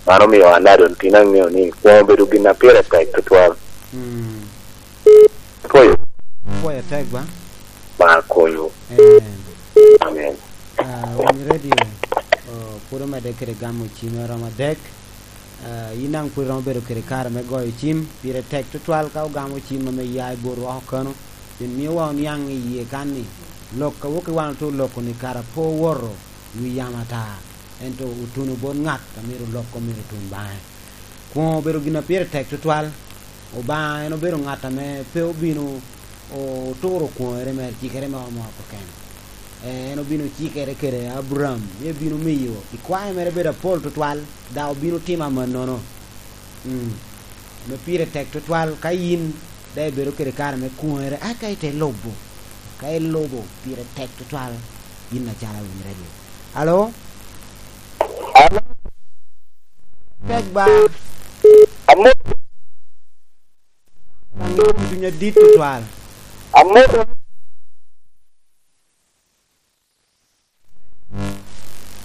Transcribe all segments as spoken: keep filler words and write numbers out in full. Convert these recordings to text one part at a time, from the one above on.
Mano omio an daŋ doŋ tin aŋeo ni kwoŋo obedo gin a pire tek tutwal. Mm. Apwoyo. Apwoyo tek ba? Ba konyo. Amen. Amen. Ah, Winy Radio, oh, pwod omedde kede gamo cim a romo adek. Ah, yin daŋ pwod iromo bedo kede kare me goyo cim, pire tek tutwal ka ogamo cim ame ya i bot woko kano, pien miowa oniaŋ i yie kan ni, lok a wok i wan ote oloko ni kara pe owoto wi yamo ata, ento otuno bot ŋat a myero olok, myero otun baŋe. Kwoŋo obedo gin a pire tek tutwal. Obaŋa en obedo ŋat ame pe obino oturo kwoŋere mere, cikere moro moro keken. Eh, en obino cikere kede Aburam, ni ebino miyo ikwae mere bedo apol tutwal, dok obino timo amannono. Mm. Ame pire tek tutwal, ka yin daŋ ibedo kede kare me kwoŋere, eka ite lubo. Ka ilubo, pire tek tutwal, yin acalo Winy Radio. Alo? Alo? Tek ba. Amor. Daŋ yin cuny adit tutwal. Amor.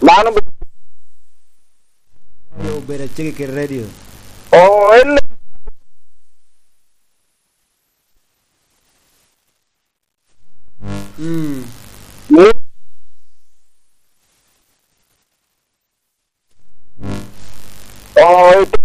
Mano be- Yo, bedo acege kede radio. Oh, en. Mm. Ni- Oh, ito.